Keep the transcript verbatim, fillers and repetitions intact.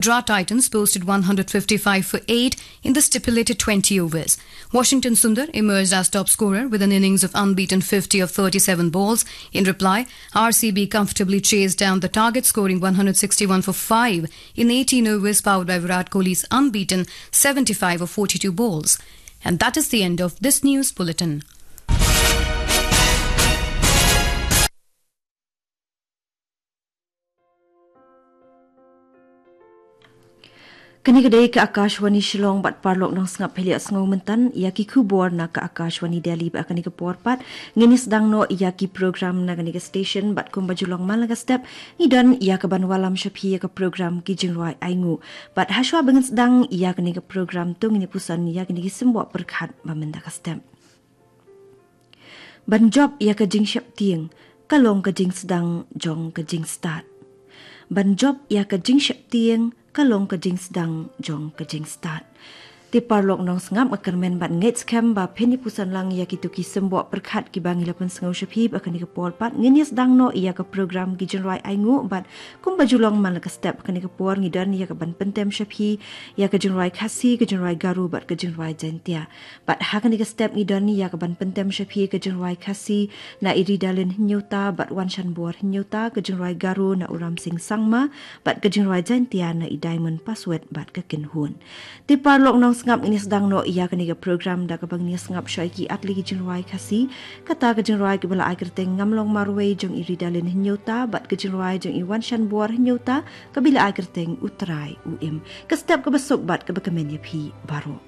Gujarat Titans posted one hundred fifty-five for eight in the stipulated twenty overs. Washington Sundar emerged as top scorer with an innings of unbeaten fifty of thirty-seven balls. In reply, R C B comfortably chased down the target, scoring one hundred sixty-one for five in eighteen overs, powered by Virat Kohli's unbeaten seventy-five of forty-two balls. And that is the end of this news bulletin. Kane ka dei ka Akashvani Shillong, bad paralok nongsngap, phi la ïa sngew mynta ïa ki khubor na ka Akashvani Delhi. Bad ha kane ka por pat ngin ïa sdang noh ïa ki program na kane ka station, bad kumba ju long man la ka step, ngi don ïa kaban wallam sha phi ïa ka program Ki Jingrwai Ainguh. Bad hashwa ba ngin sdang ïa kane ka program, to ngin ïa puson ïa kine ki symboh pyrkhat ba mynta ka step. Ban jop ïa ka jingsheptieng ka long ka jingsdang jong ka jingstad. Ban jop ïa ka jingsheptieng ka long ka jingsdang jong ka jingstad. Te paralok nongsngap, nga kyrmen bad ngeit skhem ba phin ïa puson lang ïa kito ki symboh pyrkhat kiba ngi la pynsngew sha phi. Bad ha kane ka por pat ngin ïa sdang noh ïa ka program Ki Jingrwai Ainguh, bad kumba ju long man la ka step, ha kane ka por ngi don ïa kaban pyntem sha phi ïa ka jingrwai Khasi, ka jingrwai Garo bad ka jingrwai Jaintia. Bad ha kane ka step ngi don ïa kaban pyntem sha phi ka jingrwai Khasi na i Ridalin Hynñiewta bad Wanshanbor Hynñiewta, ka jingrwai Garo na u Ramsing Sangma, bad ka jingrwai Jaintia na i Diamond Paswet bad ka Kynhun. Te paralok nongsngap, ngin ïa sdang noh ïa kane ka program da kaba ngin ïa sngap sha ki artylli ki jingrwai Khasi. Kata ka jingrwai kaba la ai kyrteng Ngam Long Marwei jong i Ridalin Hynñiewta bad ka jingrwai jong i Wanshanbor Hynñiewta kaba la ai kyrteng U Trai U Im. Ka step kaba suk bad kaba kmen ïa phi baroh.